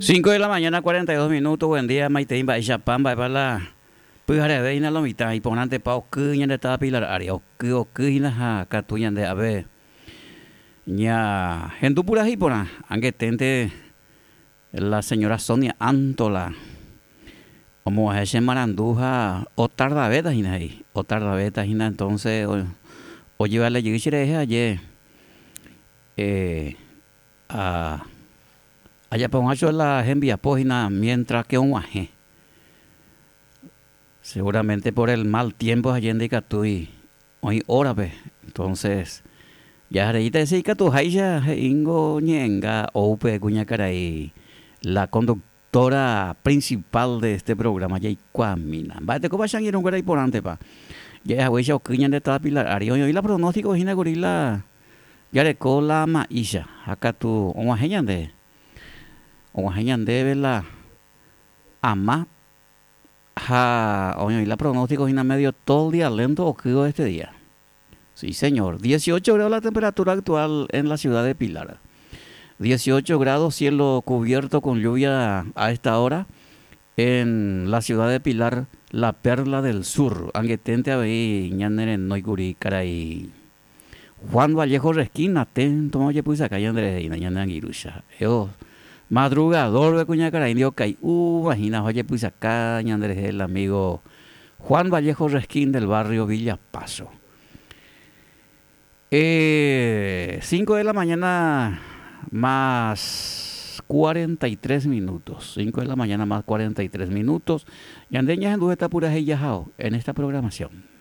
5 de la mañana 42 minutos, buen día, maitei mba'éichapa mba'épa la pyhareve hína lo mitã, iporãntepa oky ñande táva Pilar ári, oky oky hína ha katu ñande ave ña hendu purahéi porã, angeténte la señora Sonia Antola omoguahẽ che marandu ha otardavéta hína he'i, otardavéta hína entonces ojevale jey che rehe aje A ajapo hag̃ua la hembiapo hína mientras que og̃uahẽ. Seguramente por el mal tiempo aje ndaikatúi oĩ hórape, entonces jahareíta hese ikatuháicha he'íngo ñe'ẽnga ou pe kuñakarai la conductora principal de este programa jaikuaamína. Mba'etekópa che angirũnguéra iporãntepa ja'e haguéicha oky ñande táva Pilar ári. Oĩ oĩ la pronóstico hína kuri la Jareko la ma'ícha, ha katu og̃uahẽ ñande, og̃uahẽ ñandéve la ama ha oĩoĩ la pronóstico hína medio todo el día lento okývo este día. Sí señor, 18 grados la temperatura actual en la ciudad de Pilar. 18 grados, cielo cubierto con lluvia a esta hora en la ciudad de Pilar, la perla del sur. Angeténte avei ñanerenóikuri karai Juan Vallejo Resquín atento ojepysaka ñande rehe hína ñane angirũcha. Eo madrugador-pe kuñakarai ndi okai'úva hína ojepysaka ñande rehe el amigo Juan Vallejo Resquín del barrio Villa Paso. Eh, 5 de la mañana más 43 minutos. 5 de la mañana más 43 minutos. Ñande ñahendu heta purahéi jahao en esta programación.